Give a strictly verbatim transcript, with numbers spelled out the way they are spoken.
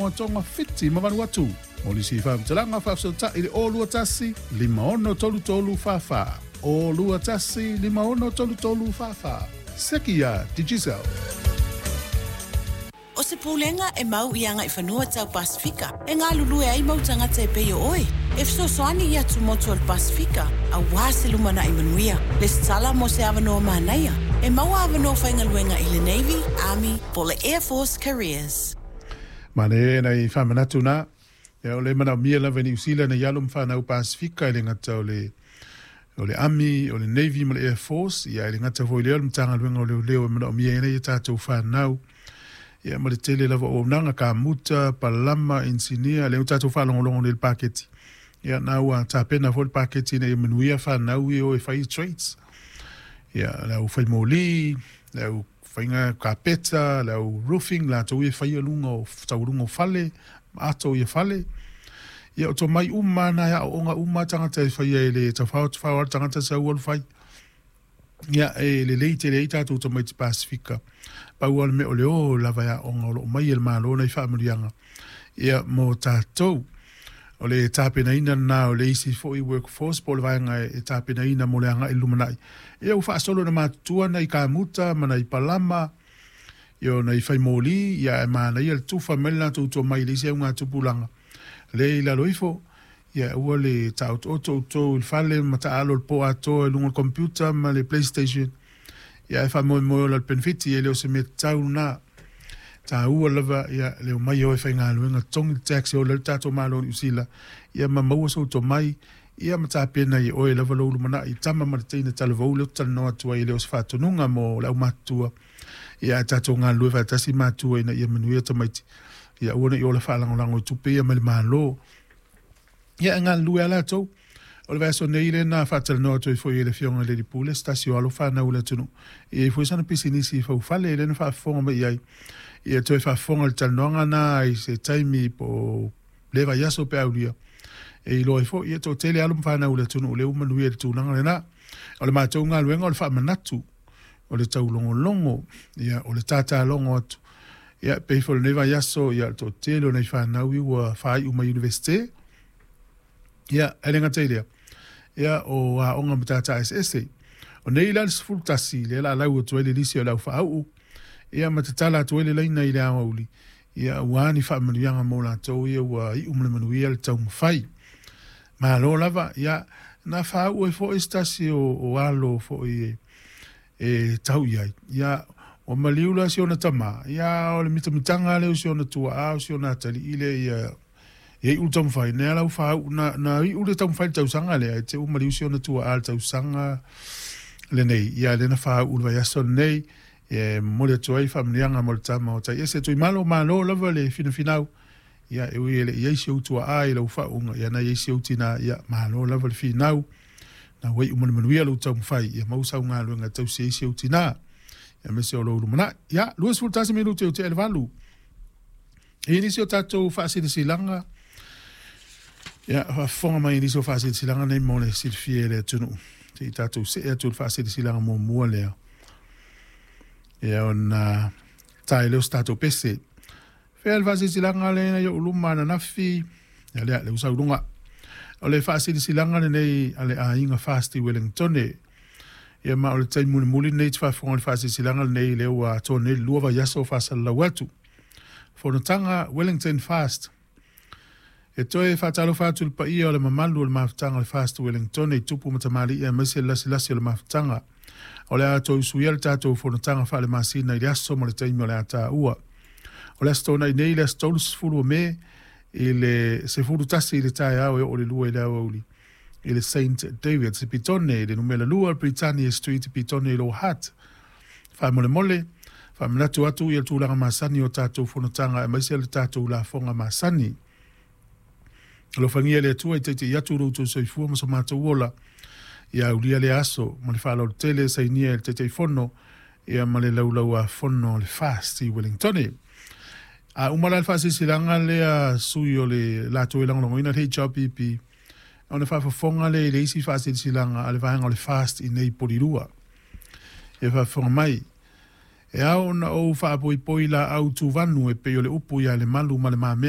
Samoa, Tonga, Fiti ma Vanuatu. Mo nisi faamatalaga faafesootai i le o lua tasi lima ono tolu tolu fa fa o lua tasi lima ono tolu tolu fa fa. Seki ia Digicel. O se pulega e mau i agaifanua tau Pasefika e galulue ai mau tagata e pei o oe. E fesoasoani i atumotu o le Pasefika auā se lumanai manuia. Lesitala mo se avanoa manaia. E maua avanoa faigaluega i le Navy, Army po o le Air Force Careers. Manaia nai faamanatu na. Ia o le manaomia lava i Niu Sila nai alo ma fanau Pasefika e le gata o le o le Army, o le Navy ma le Air Force, ia e le gata foi lea o le Matagaluega o Leoleo e manaomia ai nei a tatou fanau. Ia ma le tele lava o auaunaga, kamuta, palama, inisinia, lea ua tatou faalogologo nei i le paketi. Ia na ua tapena foi le paketi ina ia manuia fanau ia e o e fai trades. Ia le au fai moli, le au faiga kapeta, le au roofing, latou ia e faia luga o taualuga o fale, ma ato ia fale. Ia o tomai uma na e aooga uma tagata e faia e le tafao tafao lava le tagata sau alu fai. Ia e lelei tele ai tatou tamaiti Pasefika. Pau lava le mea o le o lava e aoga o lo o mai e le Malo nai faamanuiaga ia mo tatou. O le tapenaina lena o le isi foi workforce po o le vaega e tapenaina mo le agai i le lumanai. Ia ua faasolo ina matutua nai kamuta ma nai palama, ia o nai fai moli, ia ae manaia le tufa mai le latou tomai i le isi augatupulaga lea i lalo ifo. Ia aua le taotooto outou i le fale ma taaalo le po atoa i luga o le computer ma le PlayStation. Ia ae faamoemoe ola i le penefiti, e le o se mea tatau lena. Taua lava ia le omai o e faigaluega, totogi le tax e ola ai le tatou Malo o Niu Sila, ia ma maua sou tomai, ia ma tapena i oe lava lou lumanai, tama ma le teine talavou lea ou te talanoa atu ai, e le o se faatonuga mo le aumatutua. Ia ae tatou galulue faatasi matua ina ia manuia tamaiti, ia aua ne i ola faalagolago i tupe ia mai le Malo. Ia e galulue lava latou. O le vaiaso nei lea na faatalanoa atu ai foi e le Afioga i le Alii Pule, se tasi o alo fanau o le atunuu, e i ai foi sana pisinisi i faufale lea na faafofoga mai i ai. Ia toe faafofoga i le talanoaga na i se taimi po o lea vaiaso pe aulia, e iloa ai foi, ia toatele alo ma fanau o le atunuu lea ua manuia i le tulaga lena. O le matou galuega o le faamanatu, o le taulogologo, ia, o le tatalogo atu. Ia, pei foi o lenei vaiaso, ia, o le toatele o nai fanau ia ua faaiu mai Iunivesite. Ia, e le gata i lea, ia, o aoga matata eseese. O nei la le sefulu tasi, lea o le a lau atu ai le lisi o le au faauu, ia, ma tatala atu ai le laina i le aoauli, ia, aua ni faamanuiaga mo latou ia ua iu ma le manuia le taumafai. Malo lava, ia, na faauu ai foi se tasi o, o alo foi e, e tau i ai. Ia, ua maliu la si ona tama, ia, o le mitamitaga lea o si ona tuaa, o si ona atalii lea ia, ia iu le taumafai, na lau faauu, na, na iu le taumafai le tausaga lea, e te u maliu si ona tuaa le tausaga lenei, ia, lea na faauu le vaiaso lenei, e momoli atu ai faamanuiaga mo le tama o Taiese. Tuimalo, malo lava le finafinau, ia, e ui e le i ai si ou tuaa i lau faauuga, ia na i ai si ou tinā, ia, malo lava le finau, na ua iu ma le manuia lou taumafai, ia maua sau galuega e tausi ai si ou tinā, ia aemaise o lou lumanai. Ia, luasefulu tasi minute o tea i le valu. E i ai nisi o tatou faasilasilaga, ia, faafofoga mai i nisi o faasilasilaga nei mo le silafia e le atunuu. Se i tatou see atu i le faasilasilaga muamua lea, ia ona tae lea o se tatou pese. Fea le faasilasilaga lea i ou luma ananafi, ia lea, le usa luga. O le faasilasilaga lenei a le aiga Fast i Wellingtone. Ia ma o le taimi mulimuli lenei te faafofoga i le faasilasilaga lenei lea ua atoa nei le lua vaiaso o faasalalau atu. Fonotaga Wellington Fast. E toe faatalofa atu i le paia o le mamalu o le mafutaga o le Fast Wellingtone i tupu ma tamalii aemaise le lasilasi o le mafutaga. O le a toe usuia le tatou fonotaga faalemasina i le aso ma le taimi o le a taua. O le Aso Toonai nei, le aso tolusefulu o Me, i le sefulu tasi i le taeao e oo i le lua i le aoauli i le Saint David's i Petone, i le numera lua Britannia Street i Petone i Lower Hutt. Faamolemole, faamanatu atu ia le tulaga masani o tatou fonotaga aemaise le tatou lafoga masani. Alofagia le Atua i taita'i atu lo outou soifua ma so matou ola ia aulia lea aso ma le faaaloalo tele e sainia e le Taitaifono ia ma le Laulau-a-Fono o le Fast i Wellingtone. A uma la le faasilasilaga lea sui o le latou e lagolagoina le H R P P, ona faafofoga lea i le isi faasilasilaga a le vaega o le Fast i nei Polilua. Ia faafofoga mai, e ao ona ou faapoipoi laau tuvanu e pei o le upu ia Lemalu ma Le Mamea.